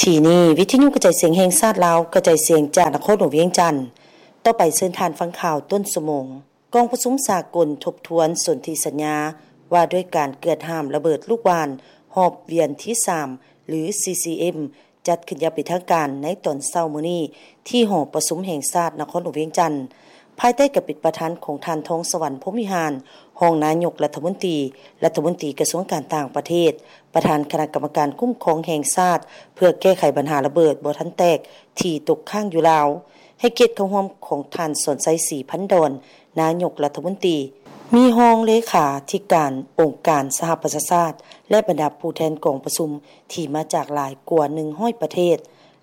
ທີ່ນີ້ ວິທະຍຸກະຈາຍສຽງແຫ່ງຊາດລາວ ກະຈາຍສຽງຈາກນະຄອນຫຼວງວຽງຈັນ. ຕໍ່ໄປເຊີນທ່ານຟັງຂ່າວຕົ້ນຊົ່ວໂມງ. ກອງປະຊຸມສາກົນທົບທວນສົນທິສັນຍາວ່າດ້ວຍການເກືອດຫ້າມລະເບີດລູກຫວ່ານຮອບວຽນທີສາມ ຫຼື ຊີຊີເອັມ ຈັດຂຶ້ນຢ່າງເປັນທາງການໃນຕອນເຊົ້າມື້ນີ້ ທີ່ຫໍປະຊຸມແຫ່ງຊາດນະຄອນຫຼວງວຽງຈັນ. ພາຍໃຕ້ການເປັນປະທານຂອງທ່ານ ທອງສະຫວັນ ພົມວິຫານ ຮອງນາຍົກລັດຖະມົນຕີ, ລັດຖະມົນຕີກະຊວງການຕ່າງປະເທດ, ປະທານຄະນະກຳມະການຄຸ້ມຄອງແຫ່ງຊາດ ເພື່ອແກ້ໄຂບັນຫາລະເບີດບໍ່ທັນແຕກທີ່ຕົກຄ້າງຢູ່ລາວ, ໃຫ້ກຽດເຂົ້າຮ່ວມຂອງທ່ານ ສອນໄຊ ສີພັນດອນ ນາຍົກລັດຖະມົນຕີ, ມີຮອງເລຂາທິການອົງການສະຫະປະຊາຊາດ ແລະ ບັນດາຜູ້ແທນກອງປະຊຸມທີ່ມາຈາກຫຼາຍກວ່າໜຶ່ງຮ້ອຍປະເທດ.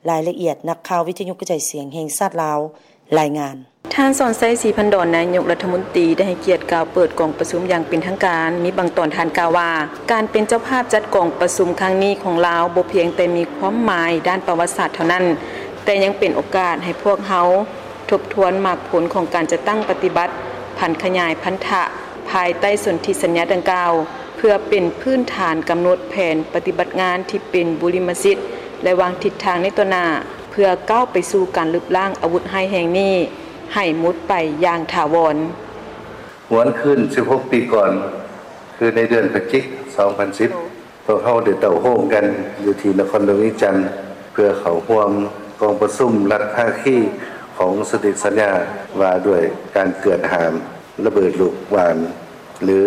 ລາຍລະອຽດ ນັກຂ່າວວິທະຍຸກະຈາຍສຽງແຫ່ງຊາດລາວລາຍງານ. ທ່ານ ສອນໄຊ ສີພັນດອນ ນາຍົກລັດຖະມົນຕີ ໄດ້ໃຫ້ກຽດກ່າວເປີດກອງປະຊຸມຢ່າງເປັນທາງການ. ມີບາງຕອນທ່ານກ່າວວ່າ ການເປັນເຈົ້າພາບຈັດກອງປະຊຸມຄັ້ງນີ້ຂອງລາວ ບໍ່ພຽງແຕ່ມີຄວາມໝາຍດ້ານປະຫວັດສາດເທົ່ານັ້ນ, ແຕ່ຍັງເປັນໂອກາດໃຫ້ພວກເຮົາ ທົບທວນໝາກຜົນຂອງການຈັດຕັ້ງປະຕິບັດຜັນຂະຫຍາຍພັນທະພາຍໃຕ້ສົນທິສັນຍາດັ່ງກ່າວ ເພື່ອເປັນພື້ນຖານກຳນົດແຜນປະຕິບັດງານທີ່ເປັນບຸລິມະສິດ ແລະ ວາງທິດທາງໃນຕໍ່ໜ້າ ເພື່ອກ້າວໄປສູ່ການລຶບລ້າງອາວຸດຮ້າຍແຮງນີ້ໃຫ້ໝົດໄປຢ່າງຖາວອນ. ຫວນຄືນສິບຫົກປີກ່ອນ ຄືໃນເດືອນພະຈິກ ສອງພັນສິບ ພວກເຮົາໄດ້ເຕົ້າໂຮມກັນຢູ່ທີ່ນະຄອນຫຼວງວຽງຈັນ ເພື່ອເຂົ້າຮ່ວມກອງປະຊຸມລັດພາຄີຂອງສົນທິສັນຍາວ່າດ້ວຍການເກືອດຫ້າມລະເບີດລູກຫວ່ານ ຫຼື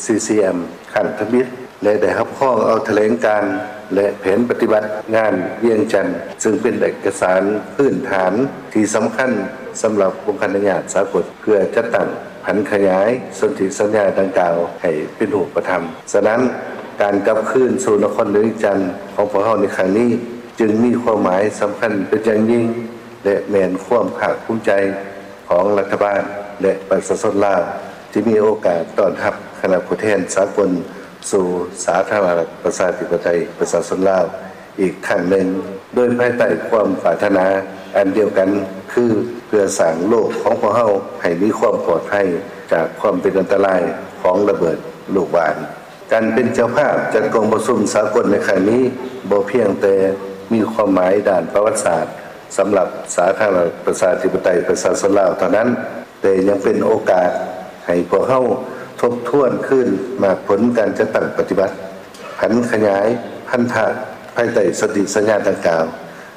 ຊີຊີເອັມ ຄັ້ງທຳອິດ ແລະ ໄດ້ຮັບຮອງເອົາຖະແຫຼງການ ແລະ ແຜນປະຕິບັດງານວຽງຈັນ ຊຶ່ງເປັນເອກະສານພື້ນຖານທີ່ສຳຄັນສຳລັບອົງຄານະຍາດສາກົນ ເພື່ອຈັດຕັ້ງຜັນຂະຫຍາຍສົນທິສັນຍາດັ່ງກ່າວໃຫ້ເປັນຮູບປະທຳ. ສະນັ້ນ, ການກັບຄືນສູ່ນະຄອນຫຼວງວຽງຈັນຂອງພວກເຮົາໃນຄັ້ງນີ້ ຈຶ່ງມີຄວາມໝາຍສຳຄັນເປັນຢ່າງຍິ່ງ ແລະ ແມ່ນຄວາມພາກພູມໃຈຂອງລັດຖະບານ ແລະ ປະຊາຊົນລາວ ທີ່ມີໂອກາດຕ້ອນຮັບຄະນະຜູ້ແທນສາກົນສູ່ສາທາລະນະລັດປະຊາທິປະໄຕປະຊາຊົນລາວ ອີກຄັ້ງໜຶ່ງ ໂດຍພາຍໃຕ້ຄວາມປາດຖະໜາອັນດຽວກັນ ຄືເພື່ອສ້າງໂລກຂອງພວກເຮົາໃຫ້ມີຄວາມປອດໄພຈາກຄວາມເປັນອັນຕະລາຍຂອງລະເບີດລູກຫວ່ານ. ການເປັນເຈົ້າພາບຈັດກອງປະຊຸມສາກົນໃນຄັ້ງນີ້ ບໍ່ພຽງແຕ່ມີຄວາມໝາຍດ້ານປະຫວັດສາດສຳລັບສາທາລະນະລັດປະຊາທິປະໄຕປະຊາຊົນລາວເທົ່ານັ້ນ, ແຕ່ຍັງເປັນໂອກາດໃຫ້ພວກເຮົາທົບທວນຄືນໝາກຜົນການຈັດຕັ້ງປະຕິບັດ ຜັນຂະຫຍາຍພັນທະພາຍໃຕ້ສົນທິສັນຍາດັ່ງກ່າວ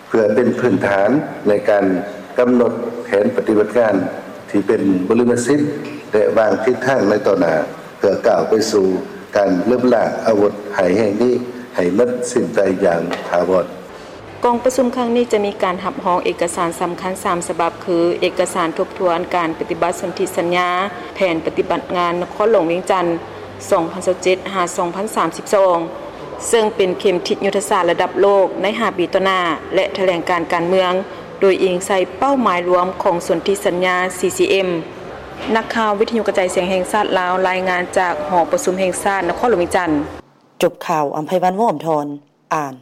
ເພື່ອເປັນພື້ນຖານໃນການກຳນົດແຜນປະຕິບັດງານທີ່ເປັນບຸລິມະສິດ ແລະ ວາງທິດທາງໃນຕໍ່ໜ້າ ເພື່ອກ້າວໄປສູ່ການລຶບລ້າງອາວຸດຮ້າຍແຮງນີ້ໃຫ້ໝົດສິ້ນໄປຢ່າງຖາວອນ. ກອງປະຊຸມຄັ້ງນີ້ຈະມີການຮັບຮອງເອກະສານສຳຄັນສາມສະບັບ ຄື ເອກະສານທົບທວນການປະຕິບັດສົນທິສັນຍາແຜນປະຕິບັດງານນະຄອນຫຼວງວຽງຈັນ ສອງພັນຊາວເຈັດ ຫາ ສອງພັນສາມສິບສອງ ເຊິ່ງເປັນເຂັມທິດຍຸດທະສາດລະດັບໂລກໃນຫ້າປີຕໍ່ໜ້າ ແລະ ຖະແຫຼງການການເມືອງ ໂດຍອີງໃສ່ເປົ້າໝາຍລວມຂອງສົນທິສັນຍາ ຊີຊີເອັມ. ນັກຂ່າວວິທະຍຸກະຈາຍສຽງແຫ່ງຊາດລາວ ລາຍງານຈາກຫໍປະຊຸມແຫ່ງຊາດນະຄອນຫຼວງວຽງຈັນ. ຈົບຂ່າວ, ອຳໄພວັນ ວົງອຳທອນ ອ່ານ.